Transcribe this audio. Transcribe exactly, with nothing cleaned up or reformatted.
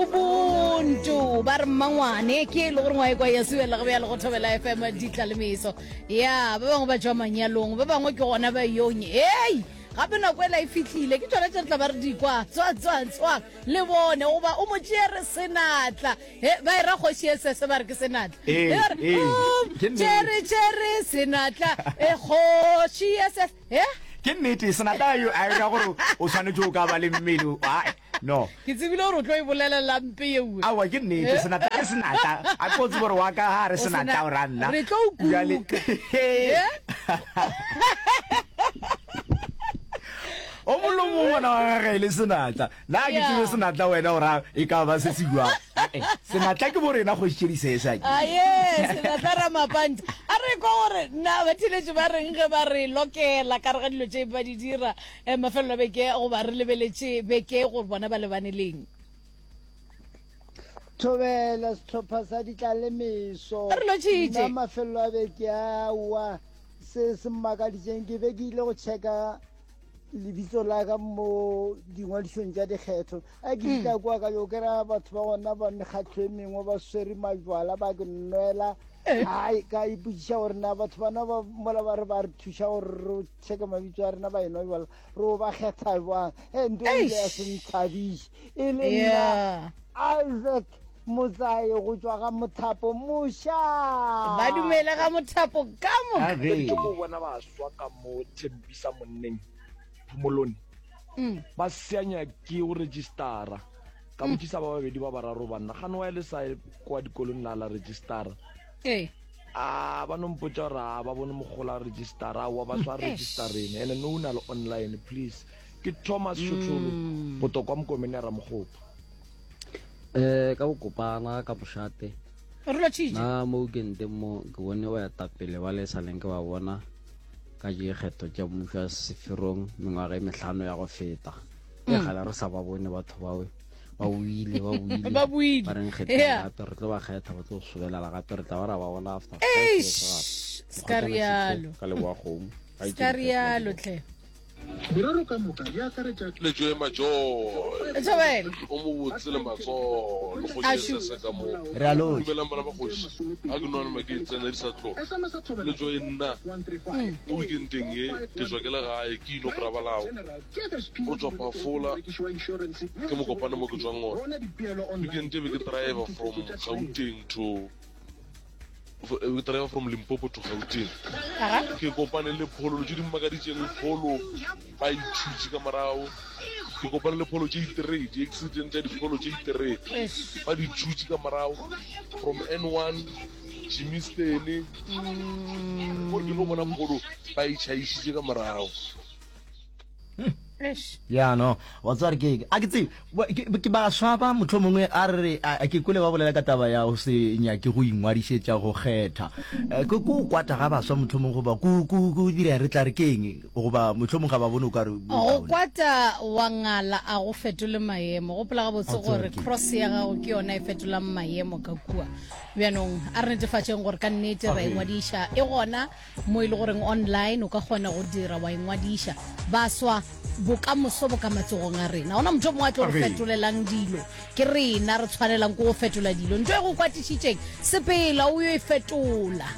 Ubuntu ba re mmangwane ke e le gore ngwae kwa ya suela go bjalo go thobela F M ditla le meso ya ba bangwe ba tšwa manyalong, ba bangwe ke gona ba yonye. Ei, gape nako ela e fihlile, ke tšona tše re tla ba re di kwa tswa tswa tswa le bone goba o mo tšere senatla. He ba e ra kgoši e sese ba re ke senatla. Ee, E ba re, ee, "O, ke nnete. tšere tšere senatla e kgoši e sese he." Ke nnete, senatla yo a ra gore o tshwanetse o ka ba le mmele. Ai, no. Ke tsebile gore o tlo e bolelela mpe yeue. Aowa, ke nnete, senatla ke senatla. A ko tsebe gore wa ka ga re O sena- senatla o ra nna. Re tlo o Bjale- kuka. Eh? O molomo ngwana wa gage e le senatla, nna ke Yeah. tsebe senatla wena o ra e ka ba se se jwang. Eh, senatla ke bo rena kgoši tše di. Aye, senatla ramapanta. A re kwa gore na batheletši ba reng ge ba re lokela ka re ga dilo tše ba di dira um mafelelo a beke goba re lebeletše beke gore bona ba lebane leng. Thobela sehlopha sa ditlalemeso. Re lotšhitše. Nna mafelelo a beke aowa, se se mmakaditseng, ke be ke ile go checka lebitso la ka mo dingwadišong tša dikgetho. A ke fihla kwa ka yo kry-a batho ba gona ba mekgatlho e mengwe ba swere majwala ba ke nwela. Ai, ka ipotšiša gore na batho bana ba mola ba re ba re thuša gore re checke mabitso a rena ba enwa jwala, re o ba kgetha jwang? E nto e ile ya se nthabiše e le nna. Yeah. Isaac Motsae go tšwa ga Mothapo moša. Ba dumele ga Mothapo ka moka. Age. Ke mo bona baswa ka mo Thembisa monneng Phomolone Mm. ba seanya ke go registera. Ka botšisa ba babedi ba bararo banna gane wa le sa kwa dikolong la la registera. Ee. A ba no mpotša gore a ba bone mogola registera wa ba swa registereng ene no na le online please. Ke Thomas Shotholo go tswa kwa Mokomene ya Ramogopa. um ka bokopana ka mošate. Re lotšhitše. Na mo weekendeng mo ke bone ba etapele ba le saleng ke ba bona ka dikgetho tša mmušo wa seferong mengwaga e mehlano ya go feta e gale re sa ba bone batho bawe ba boile, ba boile. Ba boile. Ba reng kgetheng Yeah. gape re tlo ba kgetha, ba tlo sobelela gape, re tla ba ra ba bona after five years gape. Eish, ska rialo. Ka leboa kgomo. Ska rialo tlhe. Merero ka moka e akaretša Letšo e majoy. Thobela. O mobotse le matsogo le Ašu. kgoši sese ka mo. Re a lotša. Dumelang bana ba kgoši. A ke nwane ma ke tsena di sa tloga. S M S Thobela Letšo e nna one three five mo weekendeng ye ke tswa ke le gae ke ino krabalao. O tswa Phafola ke Mokopane mo ke tswang gona. Weekend e be ke driver from Gauteng to ke driver from Limpopo to Gauteng. Aga. Ke kopane le pholo tše di mmakaditšeng, pholo ba ithutše ka morago. Ke kopane le pholo tše di-three, di-accident tša dipholo tše di-three Eish. ba di thutše ka morago from N one Germiston gore ke no bona pholo ba e tšhaišitše ka morago. Eish. Ya no wa tseba re ke a ke tsebe Ba- ke ke baswa ba motlho mongwe a re re a ke kwele ba bolela ka taba ya go se nyake go ingwadišetša go kgetha. Eh, ke ko kwata ga baswa motlho mongwe goba ko ko ko dira re tla re ke eng goba motlho mongwe ga ba bone o ka re Go bokaone. kwata wa ngala a go fetole maemo. Gopola gabotse A tseba gore ke. Cross ya gago ke yona e fetolang maemo ka kua. Bjanong a re netefatšeng gore ka nnete ra ingwadiša. E gona mo e le goreng online o ka kgona go dira wa ingwadiša. Baswa, bokamoso bo ka matsogong a rena. Gona motho o mongwe a tlo re fetolelang dilo, ke rena re tshwanelang ke go fetola dilo. Ntho e go kwatišitšeng, sepela o yo e fetola.